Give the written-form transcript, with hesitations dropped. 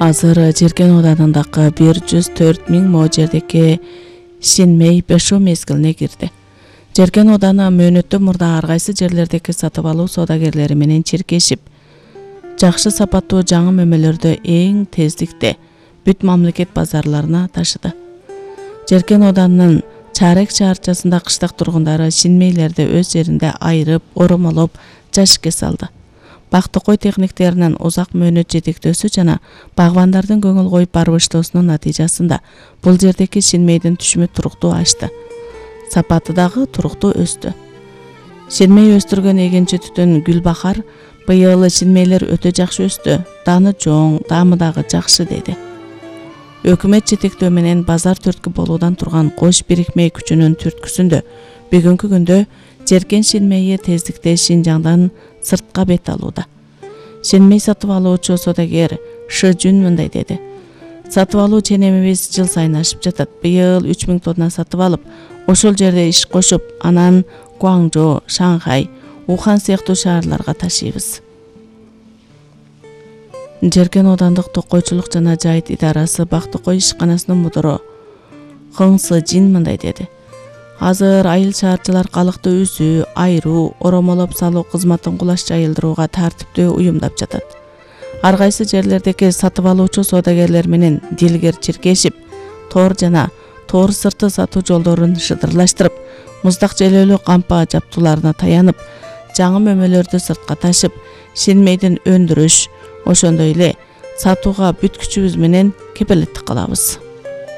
Азыр Жеркен Оданындагы 104 000 мо жердеги Шинмей бешөө мезгилине кирди. Жеркен Оданы мөөнөттөн мурда ар кайсы жерлердеги сатып алуу соодагерлери менен чиркешип, жакшы сапаттуу жаңы мөмөлөрдү эң тездикте бүт мамлекет базарларына ташыды. Жеркен Оданынын Чарек шаарчасында кыштак тургундары шинмейлерди өз жеринде айырып, оромолоп, жашикке салды. Бактыкой техниктеринин узак мөөнөт жетектөөсү жана багбандардын көңүл коюп барбыштоосунун натыйжасында бул жердеги шинмейдин түшүмү туруктуу ашты. Сапаты дагы туруктуу өстү. Шинмей өстүргөн эгинчи түтүн Гүлбахар быйыл шинмейлер өтө жакшы өстү, даны чоң, даамы дагы жакшы деди. Өкмөт жетектөө менен базар түрткү болуудан турган кош бирикме күчүнүн түрткүсүндө бүгүнкү күндө Жеркен Шинмейи тездикте Шинжаңдан сыртка бет алууда. Шинмей сатып алуучу соодагер Шы Жүн мындай деди. Сатып алуу ченемибиз жыл сайын ашып жатат. Быйыл 3000 тонна сатып алып, ошол жерде иш кошуп, анан Гуаңжо, Шанхай, Ухан сыяктуу шаарларга ташыйбыз. Жеркен Одандык токойчулук жана жайыт идарасы Бактыкой ишканасынын мудуру Хың Сы Жин мындай деди. Азыр айыл шаарчылар калыкты үзүү, айыруу, оромолоп салуу кызматын кулаш жайылдырууга тартиптүү уюмдап жатат. Ар кайсы жерлердеги сатып алуучу соодагерлер менен дилгер чиркешип, тоор жана тоор сырты сатуу жолдорун шыдырлаштырып, муздак желөлүү кампа жаптууларына таянып, жаңы мөмөлөрдү сыртка ташып, Шинмейдин өндүрүш, ошондой эле сатууга бүт күчүбүз менен кепилеттик кылабыз.